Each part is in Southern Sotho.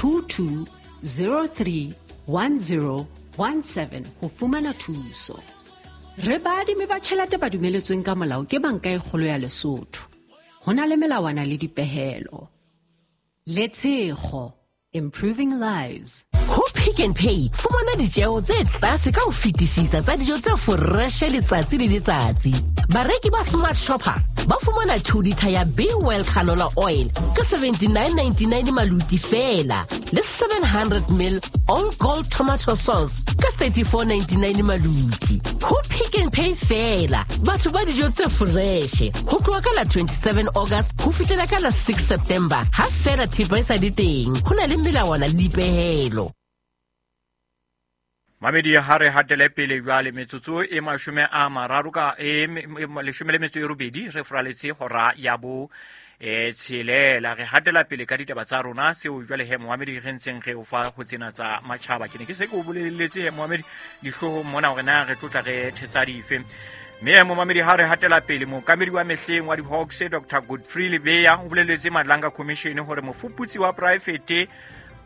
22 03 10 17 ho fumana thuso. Re baadimi ba tjhelete ba dumeletsweng ka molao ke Banka e Kgolo ya Lesotho. Ho na le melawana le dipehelo. Letshego, improving lives. Ho Pick n Pay, fumana ditjeo tse tlase ka ho fetisisa tsa dijo tse foreshe letsatsi le letsatsi. Bareki ba Smart Shopper ba fumana 2 litre ya Be Well canola oil ka 79.99 maluti feela le 700 ml All Gold tomato sauce ka 34.99 maluti. Ho Pick n Pay feela, batho ba dijo tse foreshe ho tloha ka la 27 August ho fihlela ka la 6 September ha feela thepa e sa le teng. Ho na le melawana le dipehelo. Mamedi, ha re hatele pele jwale, metsotso e 30 ka e 18 re furaletse hora ya bo 6. Re hatela pele ka ditaba tsa rona tseo jwale he moamedi re ntseng re o fa ho tsena tsa matjhaba. Ke ne ke se ke o boleletse he moamedi dihloohong mona hore na re tlotla re thetsa dife. Mme momamedi, ha re hatela pele, mookamedi wa mehleng wa di-Hawks Dr Godfrey Lebeya o boleletse Madlanga Commission hore mofuputsi wa poraefete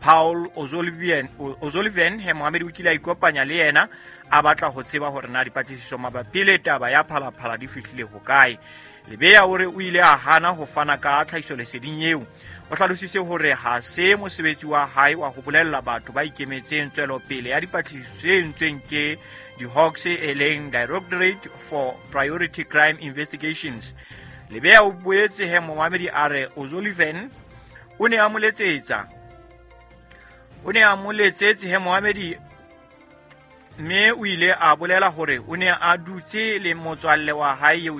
Paul O'Sullivan he moamedi o kile a ikopanya le yena a batla ho tseba hore na dipatlisiso mabapi le taba ya Phalaphala di fihlile hokae. Lebeya o re o ile a hana ho fana ka tlhahisoleseding eo. O hlalositse hore ha se mosebetsi wa hae wa ho bolella batho ba ikemetseng tswelopele ya dipatlisiso tse entsweng ke di-Hawks e leng Directorate for Priority Crime Investigations. Lebeya o boetse he moamedi a re O'Sullivan o ne a mo letsetsa o ne a mo letsetse he moamedi, mme o ile a bolela hore o ne a dutse le motswalle wa hae eo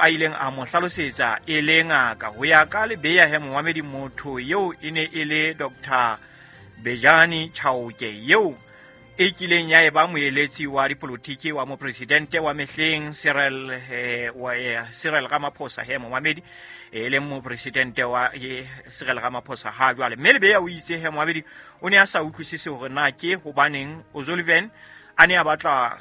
a ileng a mo hlalosetsa e le ngaka. Ho ya ka Lebeya he moamedi, motho eo e ne e le Dr Bejani Chauke eo e kileng ya eba moeletsi wa dipolotiki wa mopresidente wa mehleng Cyril Ramaphosa he moamedi, e leng mopresidente wa Cyril Ramaphosa ha jwale. Mme Lebeya o itse he moamedi o ne a sa utlwisise hore na ke hobaneng O'Sullivan a ne a batla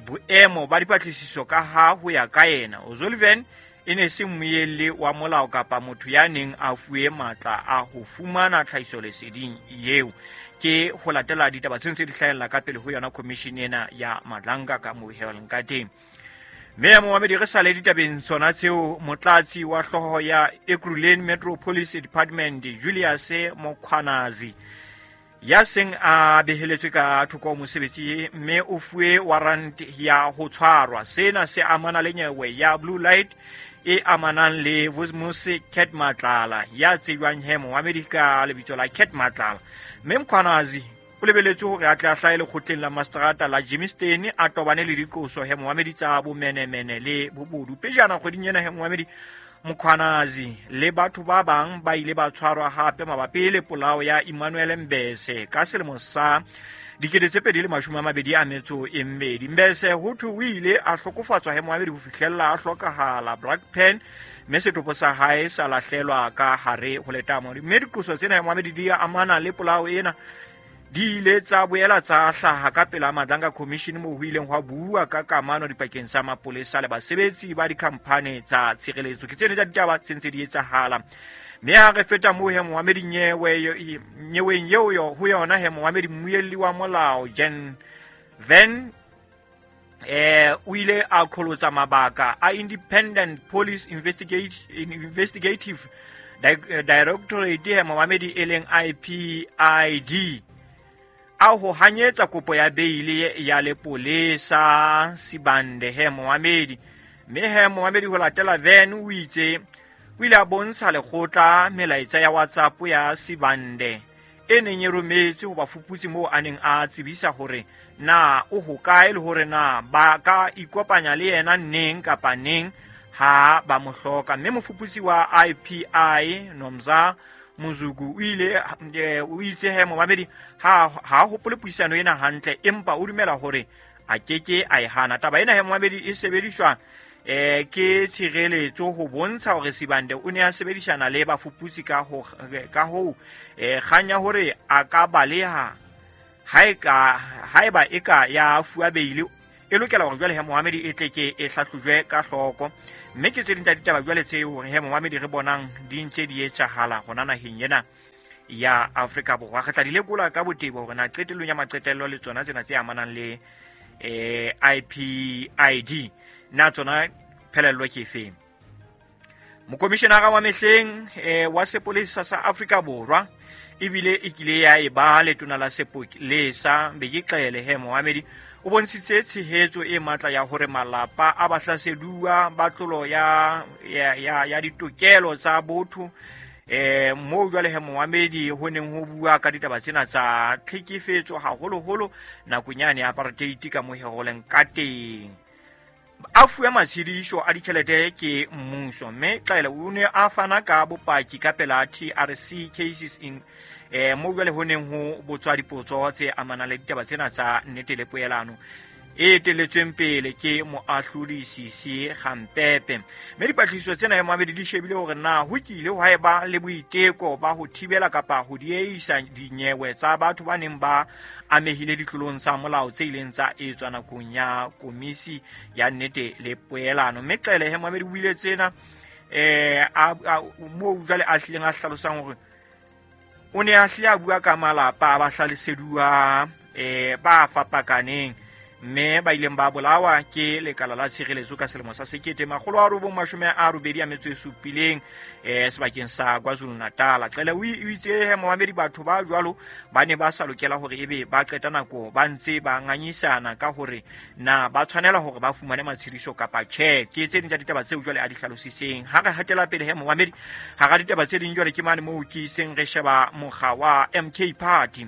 boemo ba dipatlisiso ka ha ho ya ka yena O'Sullivan e ne se mmuelli wa molao kapa motho ya neng a fuwe matla a ho fumana tlhahisoleseding eo. Ke ho latela ditaba tse ntse di hlahella ka pele ho yona commission ena ya Madlanga ka moheleng ka teng. Mme moamedi, re sale ditabeng tsona tseo, motlatsi wa hlooho ya Ekurhuleni Metro Police Department Julius Mkhwanazi ya seng a beheletswe ka thoko mosebetsi mme o fuwe warrant ya ho tshwarwa. Sena se amana le nyewe ya Blue Light e amanang le Vusimuzi Cat Matlala ya tsejwang he moamedi ka lebitso la Cat Matlala. Mme Mkhwanazi o lebeletswe hore a tle a hlahe lekgotleng la mastrata la Germiston a tobane le diqoso he moamedi tsa bomenemene le bobodu. Pejana kgweding ena he moamedi, Mkhwanazi le batho ba bang ba ile ba tshwarwa hape mabapi le polao ya Emmanuel Mbese ka selemo sa 2022. Mbese ho thwe o ile a hlokofatswa he moamedi ho fihlella a hlokahala Brakpan, mme setopo sa hae sa lahlelwa ka hare ho letamo. Mme diqoso tsena he moamedi di amana le polao ena di ile tsa boela tsa hlaha ka pela Madlanga Commission moo ho ileng hwa bua ka kamano dipakeng tsa mapolesa le basebetsi ba dikhamphane tsa tshireletso. Ke tsene tsa ditaba tse ntse di etsahala. Mme ha re feta moo he moamedi nyeweng eo ho yona he moamedi mmuelli wa molao Jan Van o ile a qholotsa mabaka a Independent Police Investigative Directorate he moamedi e leng IPID a ho hanyetsa kopo ya beile ya lepolesa Sibande he moamedi. Mme he moamedi ho latela Van o itse o ile a bontsha lekgotla melaetsa ya WhatsApp ya Sibande e neng e rometswe ho bafuputsi moo a neng a tsebisa hore na o hokae le hore na ba ka ikopanya le yena neng kapa neng ha ba mo hloka. Mme mofuputsi wa IPI Nomza Mozuku o ile o itse he momamedi ha hopole puisano ena hantle, empa o dumela hore a keke a e hana. Taba ena he momamedi e sebediswa ke tshireletso ho bontsha hore Sibande o ne a sebedisana le bafuputsi ka ho kganya hore a ka baleha haeba e ka ya fuwa beile e lokela hore jwale he momamedi e tle ke e hlahlojwe ka hloko. Mme ke tse ding tsa ditaba jwale tse hore he momamedi re bonang di ntse di etsahala hona naheng ena ya Afrika Borwa. Re tla di lekola ka botebo hore na qetellong ya maqetello le tsona tsena tse amanang le IPID na tsona phelello ke efeng. Mokomishenara wa mehleng wa sepolesa sa Afrika Borwa ebile e kile ya eba letona la sepolesa Bheki Cele he Mohamedi o bontshitse tshehetso e matla ya hore malapa a bahlaseduwa ba tlolo ya ditokelo tsa botho moo jwale he Mohamedi ho neng ho bua ka ditaba tsena tsa tlhekefetso haholoholo nakong yane ya apartheid ka mo heroleng ka teng. A fuwe matshediso a ditjhelete ke mmuso, mme Cele o ne a fana ka bopaki ka pela TRC cases in moo jwale ho neng ho botswa dipotso tse amanang le ditaba tsena tsa nnete le poelano e etelletsweng pele ke moahlodi Sisi Gampepe. Mme dipatlisiso tsena ya Mohamedi di shebile hore na ho kile hwa eba le boiteko ba ho thibela kapa ho dieisa dinyewe tsa batho ba neng ba amehile ditlolong tsa molao tse ileng tsa etswa nakong ya komisi ya nnete le poelano. Mme Cele he Mohamedi o buile tsena moo jwale a hlileng a hlalosang hore o ne a hlile a bua ka malapa a bahlaleseduwa ba fapakaneng mme ba ileng ba bolawa ke lekala la tshireletso ka selemo sa 1987 sebakeng sa KwaZulu-Natal. Cele o itse he Mohamedi batho ba jwalo ba ne ba sa lokela hore ebe ba qeta nako ba ntse ba ngangisana ka hore na ba tshwanela hore ba fumane matshediso kapa tjhe. Ke tse ding tsa ditaba tseo jwale a di hlalositseng. Ha re hatela pele he Mohamedi hara ditaba tse ding jwale ke mane moo ke iseng re sheba mokga wa MK Party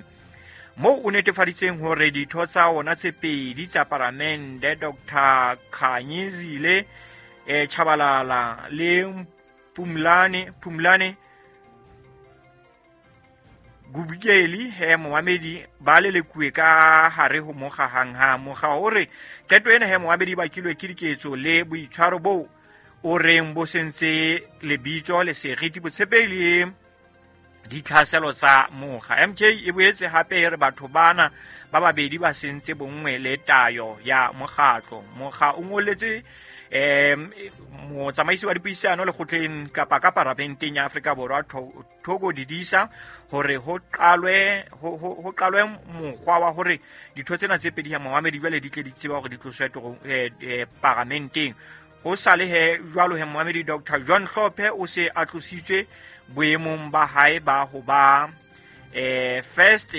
moo o netefaditseng hore ditho tsa ona tse pedi tsa paramende Dr. Khanyezile Tshabalala le Phumlane Gubikeli he Mohamedi ba lelekuwe ka hare ho mokga hanghang. Mokga o re qeto ena he Mohamedi ba bakilwe ke diketso le boitshwaro bo o reng bo sentse lebitso le seriti botshepehi le ditlhaselo tsa mokga. MK e boetse hape e re batho bana ba babedi ba sentse bonngwe le tayo ya mokgatlo. Mokga o ngoletse motsamaisi wa dipuisano lekgotleng kapa ka paramenteng ya Afrika Borwa Thoko Didisa hore ho qalwe mokgwa wa hore ditho tsena tse pedi ya Mohamedi jwale di tle di tseba hore di tloswe paramenteng. Ho sale he jwalo he Mohamedi Dr. John Hlophe o se a tlositswe boemong ba hae ba ho ba first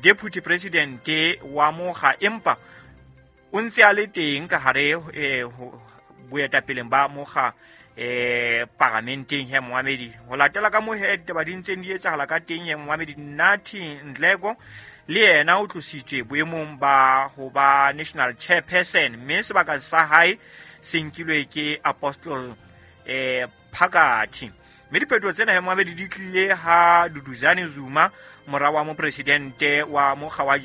deputy president wa mokga, empa o ntse a le teng ka hare boetapeleng ba mokga paramenteng he Mohamedi. Ho latela ka moo he ditaba di ntseng di etsahala ka teng he Mohamedi, Nathi Nhleko le yena o tlositswe boemong ba ho ba national chairperson, mme sebaka sa hae se nkilwe ke Apostle Phakathi. Mme diphetoho tsena he Mohamedi di tlile ha Duduzane Zuma, mora wa mopresidente wa mokga wa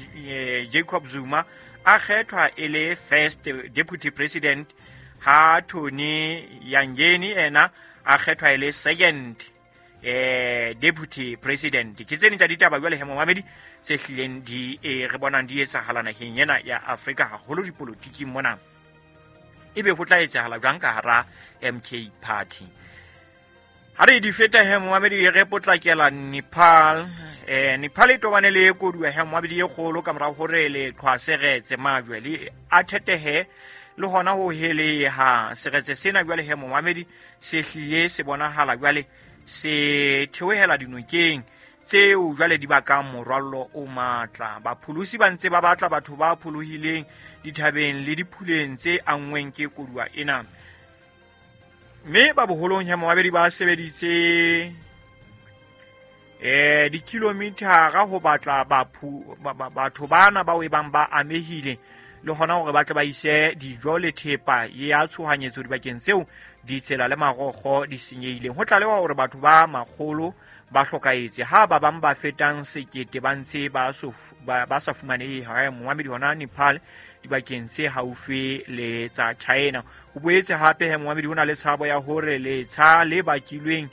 Jacob Zuma, a kgethwa e le first deputy president, ha Tony Yangeni ena a kgethwa e le second deputy president. Ke tse ding tsa ditaba jwale he Mohamedi tse hlileng di re bonang di etsahala naheng ena ya Afrika haholo dipolotiking mona. Ebe ho tla etsahala jwang ka hara MK Party? Ha re di feta he Mohamedi re potlakela Nepal. Nepal e tobane le koduwa he Mohamedi e kgolo ka mora hore leqhwa seretse majwe le a thetehe le hona ho heleha. Seretse sena jwale he Mohamedi se hlile se bonahala jwale se theohela dinokeng tseo jwale di bakang morwallo o matla. Bapholosi ba ntse ba batla batho ba pholohileng dithabeng le diphuleng tse anngweng ke koduwa ena. Mme ba boholong he Mohamedi ba sebeditse dikilomithara ho batla batho bana bao e bang ba amehile le hona hore ba tle ba ise dijo le thepa ya tshohanyetso dibakeng tseo ditsela le marokgo di senyehileng. Ho tlalewa hore batho ba makgolo ba hlokahetse ha ba bang ba fetang 1000 ba ntse ba sa fumanehe ha Mohamedi hona Nepal dibakeng tse haufi le tsa China. Ho boetse hape he Mohamedi ho na le tshabo ya hore letsha le bakilweng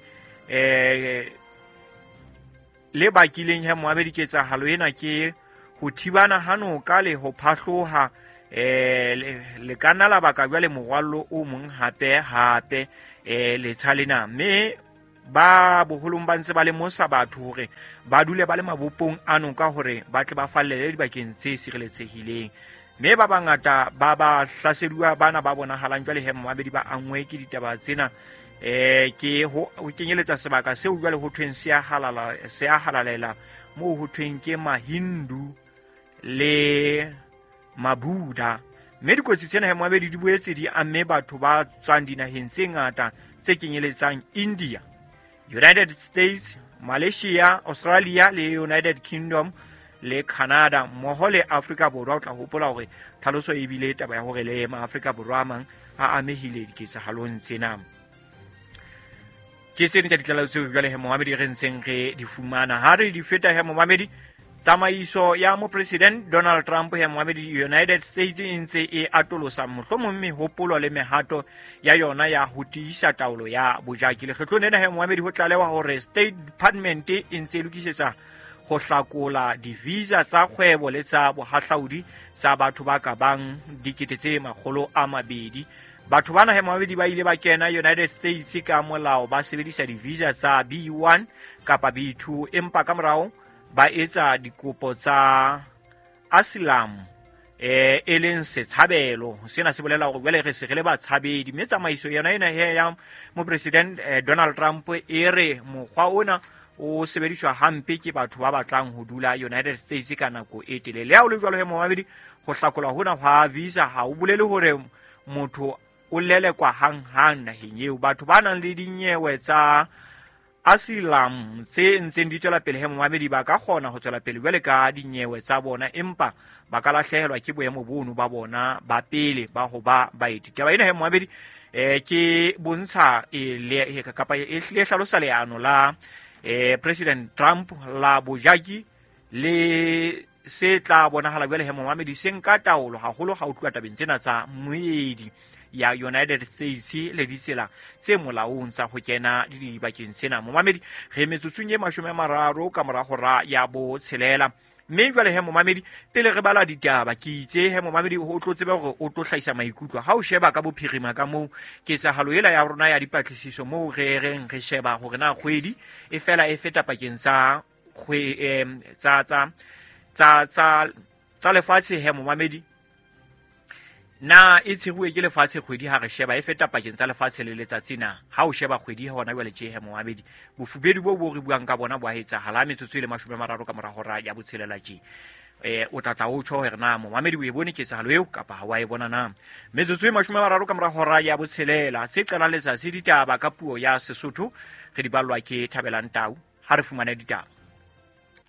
le bakileng he Mohamedi ketsahalo ena ke ho thibana ha noka le ho phahloha le ka nna la baka jwale morwallo o mong hape letsha lena. Mme Ba boholong ba ntse ba lemosa batho hore ba dule ba le mabopong a noka hore ba tle ba fallele dibakeng tse sireletsehileng. Mme ba bangata ba ba hlaseduwa bana ba bonahalang jwale he momamedi ba angwe ke ditaba tsena, ke ho kenyeletsa sebaka seo jwale ho thweng se a halalela, moo ho thweng ke Mahindu le Mabuddha. Mme dikotsi tsena he momamedi di boetse di amme batho ba tswang dinaheng tse ngata tse kenyeletsang India, United States, Malaysia, Australia le United Kingdom le Canada mmoho le Afrika Borwa. O tla hopola hore tlhaloso e bile taba ya hore le Maafrika Borwa a mang a amehile diketsahalong tsena. Ke tse ding tsa ditlaleho tseo jwale he momamedi re ntseng re di fumana. Ha re di feta he momamedi, tsamaiso ya mopresident Donald Trump he momamedi United States e ntse e atolosa mohlomong mehopolo le mehato ya yona ya ho tiisa taolo ya bojaki. Lekgetlong lena he momamedi ho tlalewa hore State Department e ntse e lokisetsa ho hlakola di-visa tsa kgwebo le tsa bohahlaudi tsa batho ba ka bang 200,000. Batho bana he momamedi ba ile ba kena United States ka molao ba sebedisa di-visa tsa B1 kapa B2, empa ka morao ba etsa dikopo tsa asylum, e leng setshabelo. Sena se bolela hore jwale re se re le batshabedi, mme tsamaiso yona ena he ya mopresident Donald Trump e re mokgwa ona o sebediswa hampe ke batho ba batlang ho dula United States ka nako e telele. Le ha ho le jwalo he momamedi, ho hlakolwa hona hwa visa ha o bolele hore motho o lelekwa hang-hang naheng eo. Batho ba nang le dinyewe tsa asylum tse ntseng di tswela pele he momamedi ba ka kgona ho tswela pele jwale ka dinyewe tsa bona, empa ba ka lahlehelwa ke boemo bono ba bona ba pele ba ho ba baeti. Taba ena he momamedi ke bontsha kapa e hlile hlalosa leano la President Trump la bojaki le se tla bonahala jwale he momamedi se nka taolo haholo ha o tluwa tabeng tsena tsa moedi ya United States le ditsela tse molaong tsa ho kena dibakeng tsena. Momamedi re metsotsong e 30 ka mora hora ya 6. Mme jwale he momamedi, pele re bala ditaba, ke itse he momamedi o tlo tsebe hore o tlo hlahisa maikutlo ha o sheba ka bophirima ka moo ketsahalo ela ya rona ya dipatlisiso moo re reng re sheba hore na kgwedi e fela e feta pakeng tsa tsa lefatshe he momamedi, na e tsheruwe ke lefatshe kgwedi ha re sheba e feta pakeng tsa lefatshe le letsatsi na? Ha o sheba kgwedi hona jwale tje he momamedi, bofubedu bo bo re buang ka bona bo a etsahala metsotso e le 30 ka mora hora ya 6 tje. O tla tla o tjho hore na momamedi o e bone ketsahalo eo kapa ha wa e bona na. Metsotso e 30 ka mora hora ya 6 tse qalang letsatsi ditaba ka puo ya Sesotho re di ballwa ke Thabelang Tau. Ha re fumane ditaba.